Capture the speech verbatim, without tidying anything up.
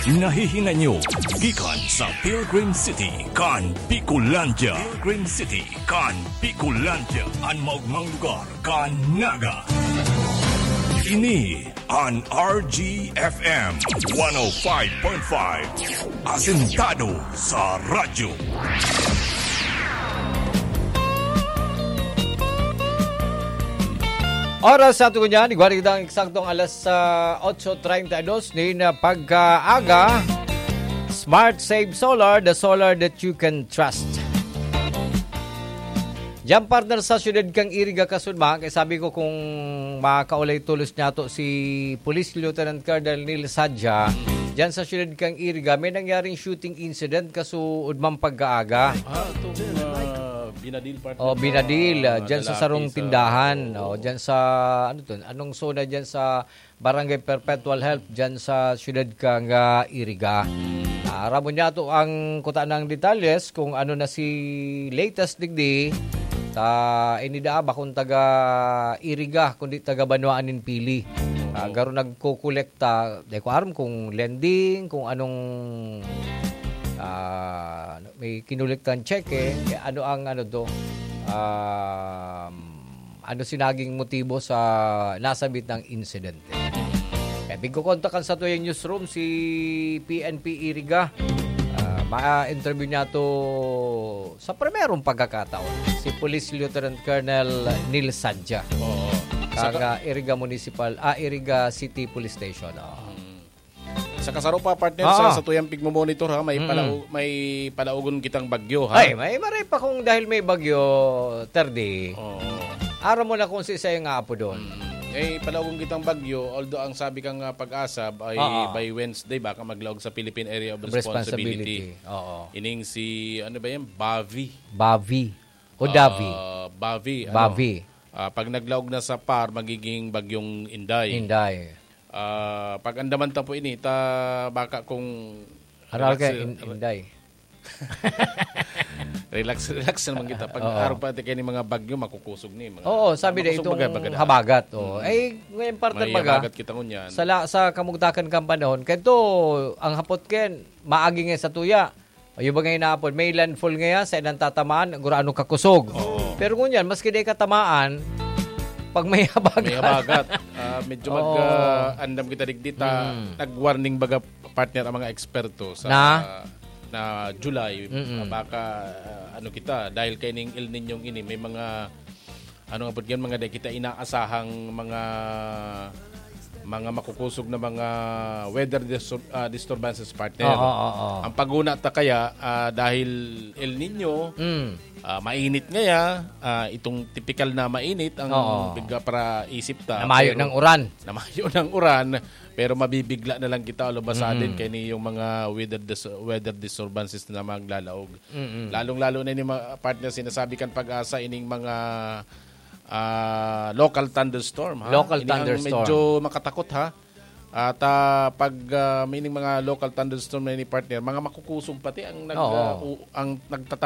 Nahihinay nyo gikan sa Pilgrim City kan Bicolandia. Pilgrim City kan Bicolandia, an maogmang lugar kan Naga. Ini an R G F M one oh five point five, asentado sa radyo. Oras sa ato niyan, igwa kitang eksaktong alas, ah, otso treinta y dos nin, ah, pagkaaga. Smart Save Solar, the solar that you can trust. Diyan, partner, sa siyudad kang Iriga, Kasunma, kaya sabi ko, kung makaulay tulos niya to si Police Lieutenant Colonel Neil Sadja, diyan sa siyudad kang Iriga, may nangyaring shooting incident kasuod man pagkaaga. Ah, itong, ah, Binadil, partner, Oh, Binadil, ah, ah, diyan sa lalaki sarong sa tindahan. Oh, diyan sa, ano to? Anong zona diyan sa Barangay Perpetual Help, diyan sa siyudad kang, ah, Iriga. Ah, aram mo niya to ang kuta ng detalyes kung ano na si latest digdi. Ta, ini daa bakong taga Iriga, kundi taga Banwaan nin Pili. Ah, Oo. Garo nagkokolekta, di ko aram kung lending, kung anong, ah, may kinolektan cheque, kaya ano ang ano do, um, ano si naging motibo sa nasabit ng insidente. Kaya tigkokontakan sa tuyang newsroom si P N P Iriga. Ah, ma-interview niya to sa primerong pagkakataon, si Police Lieutenant Colonel Neil Sadja. Oo. Kang, Saka ah, Iriga Municipal, ah, Iriga City Police Station. Oh. Mm. Sa kasaro pa, partner, Oo. sa, sa tuyang pigmomonitor, ha, may Mm. palau-, may palaugon kitang bagyo, ha? Ay, may maray pa kung dahil may bagyo, Terdi. Oo. Aram mo na kung si isa yung apo doon. Mm. Eh, palaugon kitang bagyo, although ang sabi kang, ah, pag-asa, ay Oo. by Wednesday, baka maglaog sa Philippine Area of Responsibility. Responsibility. Oo. Ining si, ano ba yan? Bavi. Bavi. O Davi. Ah, Bavi, ano? Bavi. Ah, pag naglaog na sa par, magiging bagyong Inday. Inday. Ah, pag andaman ta po ini, ta baka kung Aral relax, ka, in-, re-, Inday. relax, relax naman kita. Pag Oo. araw pa, tika ni mga bagyo, makukusog ni. Mga, Oo, sabi na makusog itong baga, baga na. habagat. Oo. Mm. Eh, ngayon, partner, May baga, habagat kita ngunyan. sa la-, sa kamugtakan kang panahon, kaya to, ang hapot ken, maagi nga sa tuya. Ayun ba nga hinapon? May landfall ngaya, sa inang tatamaan, gurano kakusog. Oo. Pero ngunyan, maski di katamaan, pag may habagat. May habagat. Ah, medyo mag, Oo. ah, andam kita digdi ta, Mm. nag-warning baga, partner, ang mga eksperto sa Na? na July. Mm-mm. Ah, baka, ah, ano kita, dahil kay ning El Niñong ini, may mga, ano nga po yan, mga di kita inaasahang mga, mga makukusog na mga weather distur-, ah, disturbances, partner. Oo, oo, oo. Ang paguna ta kaya, ah, dahil El Niño, Mm. ah, mainit ngaya, ah, itong tipikal na mainit ang Oo. bigla para isip ta, Namayo pero ng uran. namayo ng uran, pero mabibigla na lang kita, alubasa Mm. din kay ni yung mga weather dis-, weather disturbances na maglalaog. Mm-mm. Lalong-lalo na ni mga partner, sinasabi kan Pag-asa, ining mga, ah, local thunderstorm, ha? Local Ini ang thunderstorm. medyo makatakot, ha? At, ah, pag, ah, may ining mga local thunderstorm na ini, partner, mga makukusog pati ang nag-, Oo. ah, u-, ang nagtata-